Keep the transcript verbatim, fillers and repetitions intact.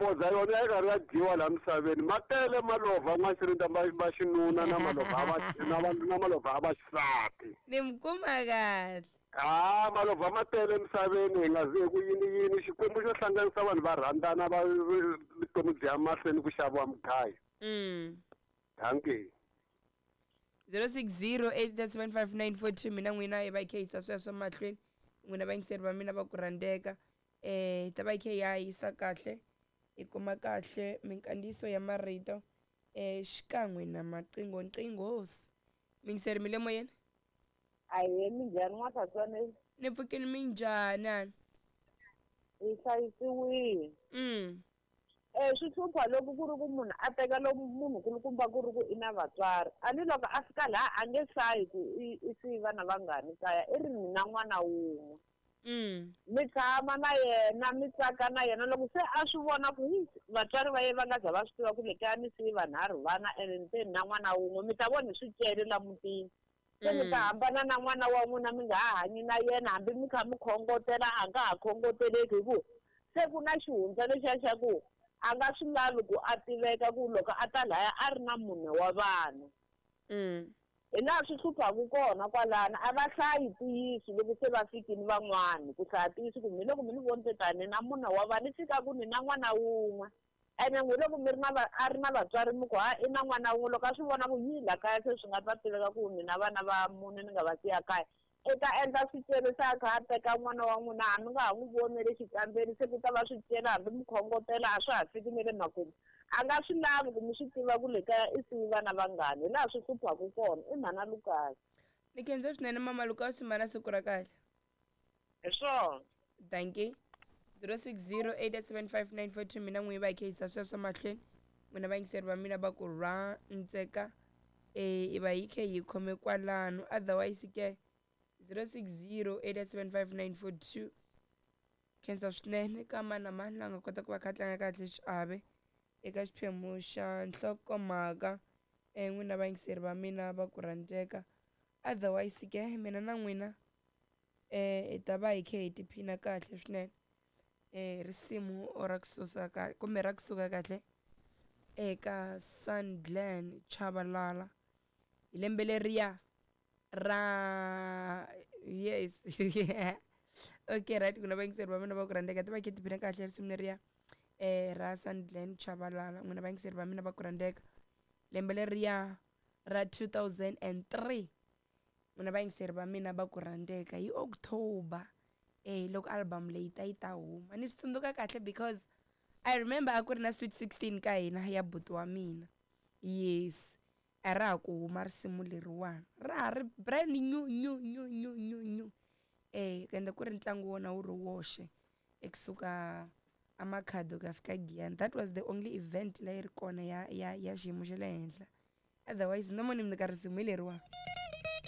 Mapodza yona ya karhi ya dyiwa laha misaveni ma tele malovha n'waxirinda va xinuna na malovha va na malovha va xisati. Ni mi kuma kahle. Ah, malovha ma tele emisaveni hi nga zi ku yini yini Xikwembu xo hlanganisa vanhu va rhandzana va vutomi byi ya mahlweni ku xaviwa mugayo. Mm. Dankie. zero six zero eight seven five nine four two mina n'wina hi va khe yisa sweswo mahlweni n'wina vayingiseri va mina va ku rhandzeka eh ta va khe ya yisa kahle hi kuma kahle minkandziyiso ya marito eh xikan'we na maqingho nqinghosi mingiseri mi le moyeni. Aye minjhani n'watshatswane? Ni pfukini minjhani? Hi hlayisiwile. Mm. Eh swi hlupha loko ku ri ku munhu a teka lomu munhu kulukumba ku ri ku i na vatswari a ni loko a fika laha a nge hlayi ku i i siyi vana vangani kaya i ri ni na n'wana wun'we. Mm. Mi tshama na yena mi tsaka na yena loko se a swi vona ku vatswari va yena va nga za va swi tiva ku le kaya ni siyi vanharhu vana ene ni te ni na n'wana wun'we mi ta vona hi swicele la mutini. Se mi ta hambana na n'wana wa n'wina mi nga ha hanyi na yena hambi mi kha mi khongotela a nga ha khongoteleki hi ku se ku na xihundla lexiya xa ku a nga swi lavi ku a tiveka ku loko a ta laya a ri na munhu wa vanhu. Mm. Hi laha swi hluphaku kona kwalano a va hlayi ntiyiso loko se va fikini van'wani ku hlaya ntiyiso ku mi loko mi ni vonile tani na munhu wa vanhu ni fika ku ni na n'wana wun'we ene n'wi loko mi ri na a ri na vatswari mi ku ha i na n'wana wun'we loko a swi vona ku yi la kaya se swi nga ta tiveka ku ni na vana va mune ni nga va siya kaya i ta endla swicele se a kha a teka n'wana wa n'wina a mi nga ha n'wi voni le xikambeni se ku ta va swicele hambi mi khongotela a swa ha fiki ne le makumu a nga swi lavi ku mi swi tiva ku le kaya i siyi vana vangani hi laha swi hluphaku kona i mhana Lukasi. Ni khensa swinene mama Lukasi mana siku ra kahle. Hi swona. Dankie. zero six zero eight seven five nine four two mina n'wi va khe yisa sweswo mahlweni n'wina vayingiseri va mina va ku rhandzeka eh i va yi khe yi khome kwalano otherwise ke zero six zero eight seven five nine four two khensa swinene ka mani na mani la nga kota ku va kha tlanga kahle xiave eka xiphemu xa nhlokomhaka eh n'wina vayingiseri va mina va ku rhandzeka otherwise ke mina na n'wina eh hi ta va hi khe hi tiphina kahle swinene eh risimu ra kusuka ka kumbe ra kusuka kahle eka Sandglen Chabalala hi lembe leriya ra yes okay right kuna vayingiseri va mina va ku rhandzeka ti va khe tiphina kahle risimu leriya eh ra Sandglen Chabalala n'wina vayingiseri va mina va ku rhandzeka lembe leriya ra two thousand and three n'wina vayingiseri va mina va ku rhandzeka hi October eh loko album leyi ta yi ta huma ni swi tsundzuka kahle because I remember a ku ri na Sweet sixteen ka hina ya buti wa mina. Yes a ra ha ku huma risimu leriwani ra ha ri brand new new new new new new eh ende ku ri ntlangu wona wu ri woxe ekusuka amakhado ku ya fika Giyani. That was the only event leyi ri kona ya ya ya xiyimo xa le henhla otherwise no moni mi nyika risimu hi leriwani.